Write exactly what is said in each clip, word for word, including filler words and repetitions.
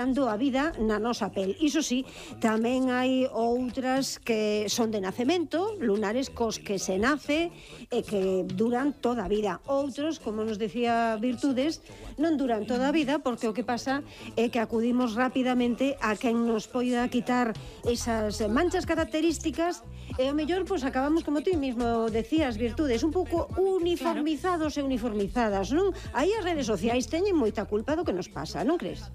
a vida na nosa pel. Iso sí, tamén hai outras que son de nacemento, lunares cos que se nace e que duran toda a vida. Outros, como nos decía Virtudes, non duran toda a vida porque o que pasa é que acudimos rapidamente a quen nos poida quitar esas manchas características e ao mellor pois acabamos, como tú mismo decías, Virtudes, un pouco uniformizados e uniformizadas, non? Aí as redes sociais teñen moita culpa do que nos pasa, non crees?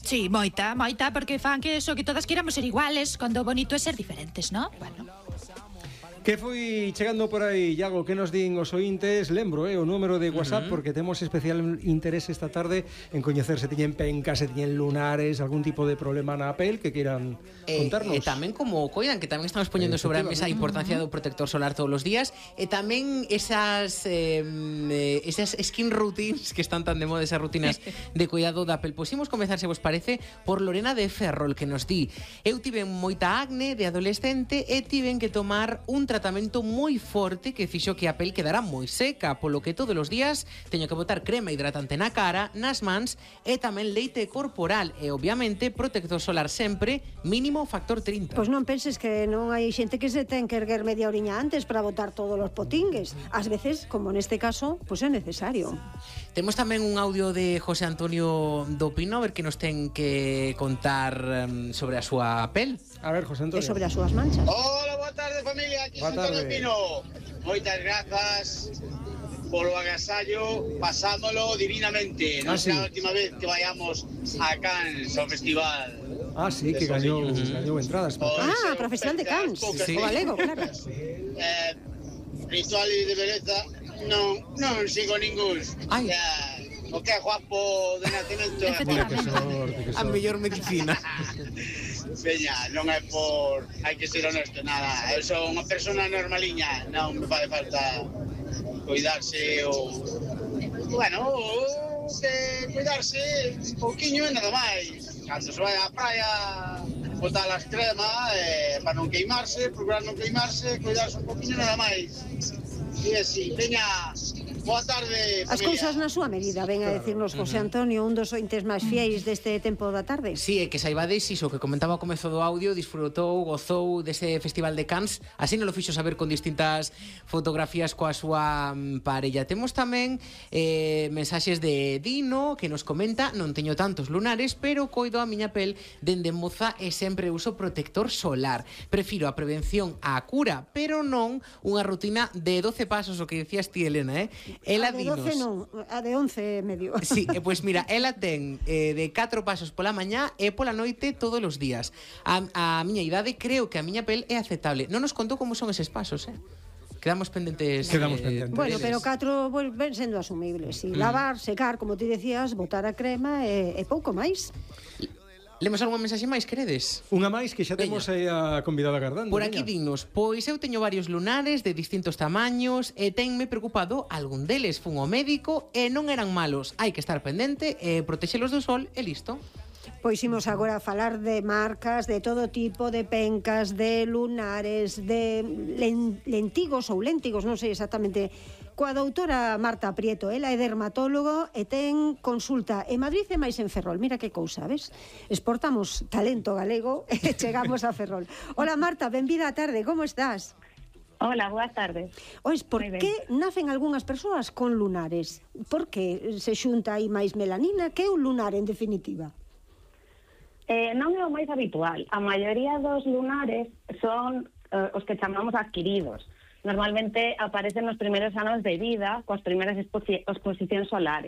Sí, moita, moita, porque fan que eso, que todas queramos ser iguales, cando o bonito é ser diferentes, ¿no? Bueno. Que foi chegando por aí, Iago, que nos din os ointes? Lembro, eh, o número de WhatsApp, uh -huh. porque temos especial interés esta tarde en coñecer se tiñen pencas, se tiñen lunares, algún tipo de problema na pel que queiran eh, contarnos. E eh, tamén como coidan, que tamén estamos poñendo sobre a mesa a importancia do protector solar todos os días, e tamén esas eh, esas skin routines que están tan de moda, esas rutinas de cuidado da pel. Pois imos comezar, se vos parece, por Lorena de Ferrol, que nos di: eu tiven moita acne de adolescente e tiven que tomar un tratamento moi forte que fixo que a pel quedara moi seca, polo que todos os días teño que botar crema hidratante na cara, nas mans e tamén leite corporal e, obviamente, protector solar sempre, mínimo factor trinta. Pois non penses que non hai xente que se ten que erguer media oriña antes para botar todos os potingues. Ás veces, como neste caso, pois é necesario. Temos tamén un audio de José Antonio do Pino, a ver que nos ten que contar um, sobre a súa pel. A ver, José Antonio. E sobre as súas manchas. Hola, boa tarde, familia. Aquí José Antonio Pino. Moitas grazas polo agasallo, pasámolo divinamente. Non ah, será sí. a última vez que vayamos a Cannes, ao festival. Ah, sí, que gañou, gañou entradas. Pues, ah, para o Festival de Cannes. Sí. O galego, claro. Eh, rituales de beleza, non, non sigo ningún. Ai. O, sea, o que é guapo de nacemento é a mellor medicina. Veña, non é por... hai que ser honesto, nada. Eu son unha persona normaliña, non me fai falta cuidarse ou... Bueno, ou que cuidarse un pouquiño e nada máis. Cando se vai á praia, botar as cremas, eh, para non queimarse, procurar non queimarse, cuidarse un pouquiño nada máis. E así, veña... Boa tarde, familia. As cousas na súa medida, ven a decirnos José Antonio, un dos ointes máis fiéis deste tempo da tarde. Sí, é que saibades iso que comentaba ao comezo do audio, disfrutou, gozou dese Festival de Cannes, así non lo fixo saber con distintas fotografías coa súa parella. Temos tamén eh, mensaxes de Dino, que nos comenta: non teño tantos lunares, pero coido a miña pel dende moza e sempre uso protector solar. Prefiro a prevención á cura, pero non unha rutina de doce pasos, o que decías ti, Elena, eh? Ela a de doce non, a de once e medio. Sí, e pois mira, ela ten eh, de catro pasos pola mañá e pola noite todos os días. A, a miña idade creo que a miña pel é aceptable. Non nos contou como son eses pasos, eh? Quedamos pendentes. Quedamos eh, pendentes. Bueno, pero catro pues, ven sendo asumibles. Si, mm. lavar, secar, como ti decías, botar a crema e, e pouco máis. Lemos algunha mensaxe máis, queredes? Unha máis que xa temos aí a convidada agardando. Por aquí dignos, pois eu teño varios lunares de distintos tamaños e tenme preocupado algún deles. Fun ao médico e non eran malos. Hai que estar pendente e protexelos do sol e listo. Pois imos agora a falar de marcas, de todo tipo, de pencas, de lunares, de lentigos ou léntigos, non sei exactamente, coa doutora Marta Prieto. Ela é dermatólogo e ten consulta en Madrid e máis en Ferrol. Mira que cousa, ves? Exportamos talento galego e chegamos a Ferrol. Hola Marta, benvida á tarde, como estás? Hola, boa tarde. Ois, por que nacen algunhas persoas con lunares? Por que se xunta aí máis melanina? Que é un lunar, en definitiva? Eh, non é o máis habitual. A maioría dos lunares son eh, os que chamamos adquiridos. Normalmente aparecen nos primeiros anos de vida coas primeiras exposi exposicións solares.